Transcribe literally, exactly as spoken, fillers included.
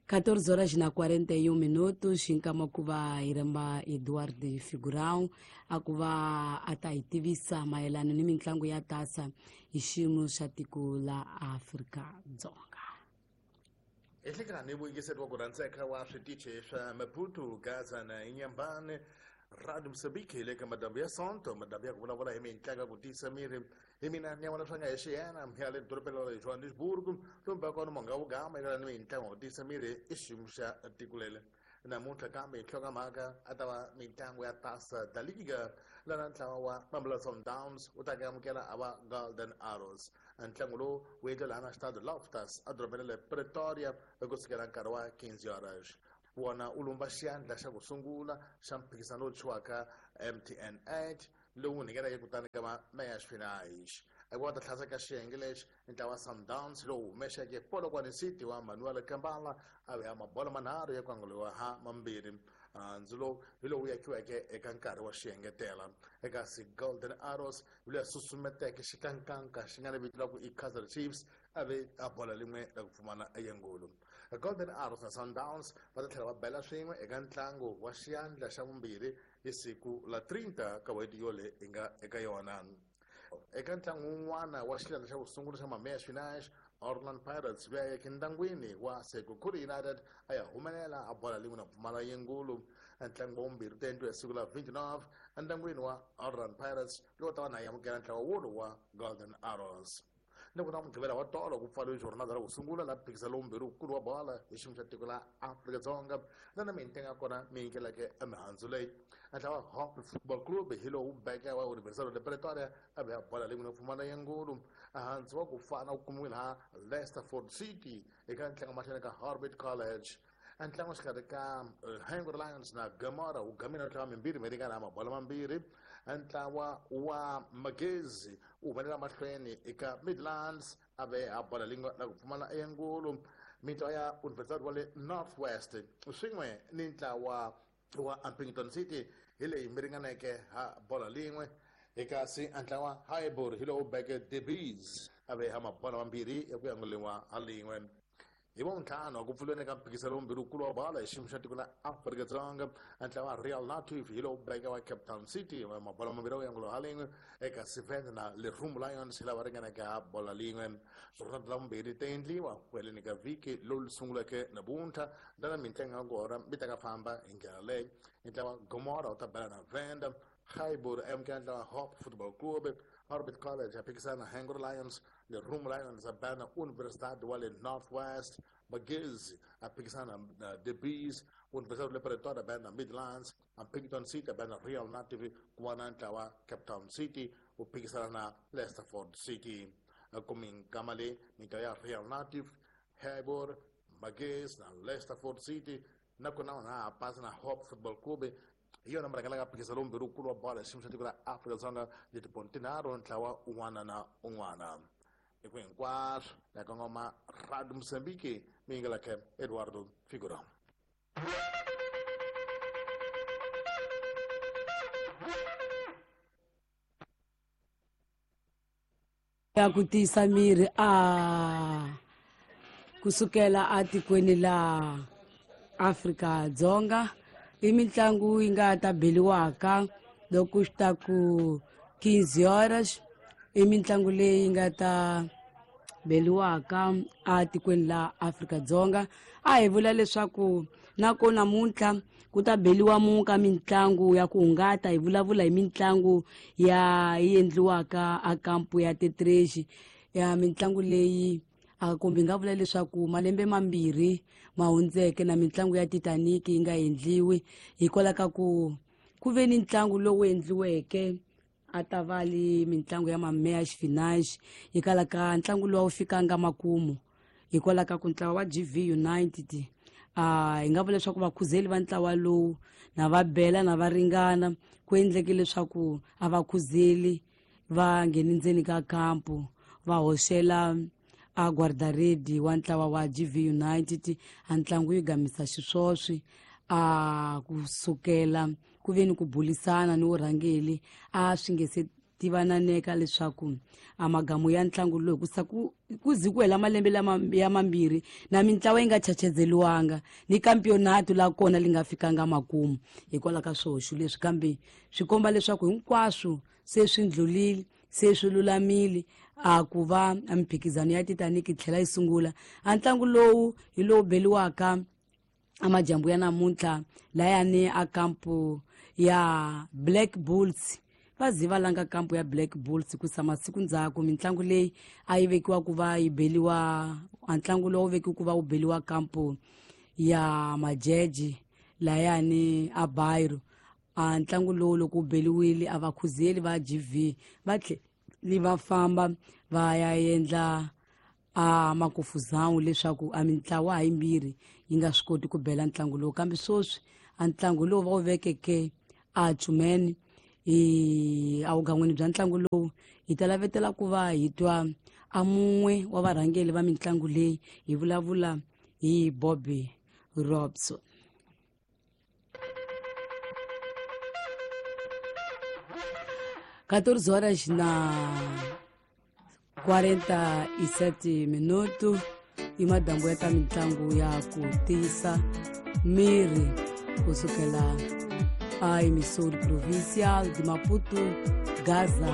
quatorze horas na quarenta e um minutos, nkama ku va hi rhamba Eduardo Figurão a ku va a ta hi tivisa mayelana ni mitlangu ya tasa hi xiyimo xa tiko la Afrika-Dzonga. Ehlekani vuyingiseri wa ku rhandzeka wa switichi swa Maputo, Gaza na Inhambane, Radio Moçambique le ka madambu ya Sonto, madambu ya ku vulavula hi mitlangu ya ku tiyisa miri. Hi mina Nyamana swa nga hi xiyena ya le dorobeni ra le Johannesburg, lomu kona monga wu gama eka ni mitlangu ya ku tiyisa miri i xiyimo xa tiko lele. Namuntlha kambe nhlokomhaka a ta va mitlangu ya Taça da Liga, lana ntlawa wa Mamelodi Sundowns wu ta amukela a va Golden Arrows. Ntlangu lowu wu endliwa laha na Stade Loftus edorobeni ra le Pretoria kusukela nkarhi wa quinze horas. Wona u lumba xiyandla xa ku sungula xa mphikizano lowu thyiwaka M T N eight lowu ngheneleke kutani ka meias finais. Eku va ta tlhasa ka xiyenge lexi ntlawa wa Sundowns lowu humexeke Polokwane City wa Manuel Kambala a veya mabolo manharhu ya ku anguriwa ha mambirhi. Ndzi lowu hi lowu yakiweke eka nkarhi wa xiengetela. Eka si Golden Arrows hi loyi a susumeteke xikankanka xi nga ni vito ra ku i Kaizer Chiefs a ve a bola rin'we ra ku pfumala eyengulu. Golden Arrows na Sundowns va ta tlhela va bela swin'we eka ntlangu wa xiyandla xa vumbirhi hi siku la trinta ka n'hweti yole hi nga eka yona. Eka ntlangu wun'wana wa xiyandla xa ku sungula xa meias finais, Orlando Pirates va ya endangwini wa Sekhukhune United a ya humelela a bola rin'we na pfumala yengulu. Ntlangu wa vumbirhi wu ta endliwa hi siku la vinte e nove endangwini wa Orlando Pirates lowu ta va na amukela ntlawa wolowo wa Golden Arrows. Ni ku na Mugqivela wa tolo ku pfariwe jornada ra ku sungula la phikizano lowumbirhi wukulu wa bola hi xiyimo xa tiko la Afrika-Dzonga, lana mintlangu ya kona mi nyikeleke emihandzu leyi. Ntlawa Hope Football Club hi lowu beke wa Universidade de Pretoria a veya bola rin'we na pfumala yengulu. Ehansi wa ku fana wu kumiwile ha Leicesterford City eka ntlangu mahlweni ka Orbit College. Ntlangu xikarhi ka Hungry Lions na Gomora wu gamile ntlawa mimbirhi mi ringana mabolo mambirhi. Ntlawa wa Magezi wu humelela mahlweni eka Midlands a ve a bola rin'we ra ku pfumala eyengulu. Mintlawa ya Universidade wa le North West swin'we ni ntlawa wa Upington City hi leyi mi ringaneke ha bola rin'we. Kasi ntlawa Highbury hi lowu beke The Bees a ve ha mabolo mambirhi ya ku yanguliwa ha rin'we. Hi vuntlhanu ku pfuleni ka mphikizano wumbirhi wukulu wa bola hi xiyimo xa tiko la Afrika-Dzonga, ntlawa Real Native hi lowu beke wa Cape Town City mabolo mambirhi ya ku yanguliwa ha rin'we. Eka Seven na Lerumo Lions hi lava ringaneke ha bola rin'we. Jornada la vumbirhi ta endliwa ku heleni ka vhiki lowu sunguleke namuntlha, lana mintlangu ya kona mi ta ka famba hi ndlela leyi. Ntlawa Gomora wu ta bela na Venda, Highbury a amukela ntlawa Hope Football Club, Orbit College a phikizana na Hungry Lions, Lerumo Lions a bela na Universidade wa le North West, Magezi a phikizana na The Bees, Universidade le Pretoria a bela na Midlands, Upington City a bela na Real Native, ku va na ntlawa Cape Town City wu phikizana na Leicesterford City. Kuminkama leyi mintlawa ya Real Native, Highbury, Magezi na Leicesterford City nakona wona ha pasa na Hope Football Club hi yona murhangela ka phikizano lowumbirhi wukulu wa bola hi xiyimo xa tiko ra Afrika-Dzonga ni tipoint tinharhu ntlawa un'wana na un'wana. Hi ku hinkwaswo na kongoma Radio Moçambique mi yingeleke Eduardo Figurão. Ya ku tiyisa miri a kusukela atikweni la Afrika-Dzonga i mitlangu yi nga ta beliwaka loko swi ta ku quinze horas, i mitlangu leyi nga ta beliwaka atikweni la Afrika-Dzonga. A hi vula leswaku nako namuntlha ku ta beliwa muka mitlangu ya ku hungata, hi vulavula hi mitlangu ya yi endliwaka a kampu ya Tetreji ya mitlangu leyi a kumbe hi nga vula leswaku malembe mambirhi ma hundzeke na mitlangu ya Titanic yi nga endliwi hikwalaho ka ku ku ve ni ntlangu lowu endliweke a ta va li mitlangu ya meias finais, hikwalaho ka ntlangu lowu a wu fikanga makumu hikwalaho ka ku ntlawa wa G V United a hi nga vula leswaku vakhuzeli va ntlawa lowu na va bela na va ringana ku endleke leswaku a va khuzeli va ngheni ndzeni ka kampu va hoxela a guardaredi wa ntlawa wa G V United a ntlangu yi gamisa xiswoswi a kusukela ku ve ni ku bulisana ni vurhangeli a swi nge se tivananeka leswaku a magamu ya ntlangu lowu kusa ku ku zi ku hela malembe lama ya mambirhi na mintlawa yi nga chachezeliwanga ni kampionato la kona li nga fikanga makumu hikwalaho ka swihoxo leswi, kambe swi komba leswaku hinkwaswo se swi ndlulile, se swi lulamile a ku va a mimphikizano ya Titanic yi tlhela yi sungula. A ntlangu lowu hi lowu beliwaka amajambu ya namuntlha layani a kampu ya Black Bulls. Va zi va langa kampu ya Black Bulls kusa masiku ndzhaku mitlangu leyi a yi vekiwa ku va yi beliwa, a ntlangu lowu vekiwa ku va wu beliwa kampu ya Majeji layani a Bairo. A ntlangu lowu loko wu beliwile a vakhuzeli va G V va tlheli va famba va ya endla a makufuzawu leswaku a mintlawa ha yimbirhi yi nga swi koti ku bela ntlangu lowu, kambe sweswi a ntlangu lowu va wu vekeke a Chumeni hi awugan'wini bya ntlangu lowu hi ta lavetela ku va hi twa a mun'we wa varhangeri va mitlangu leyi, hi vulavula hi Bobby Robson. quatorze horas na quarenta e sete minutos i madambu ya ta mitlangu ya ku tiyisa miri kusukela a emissora provincial de Maputo, Gaza.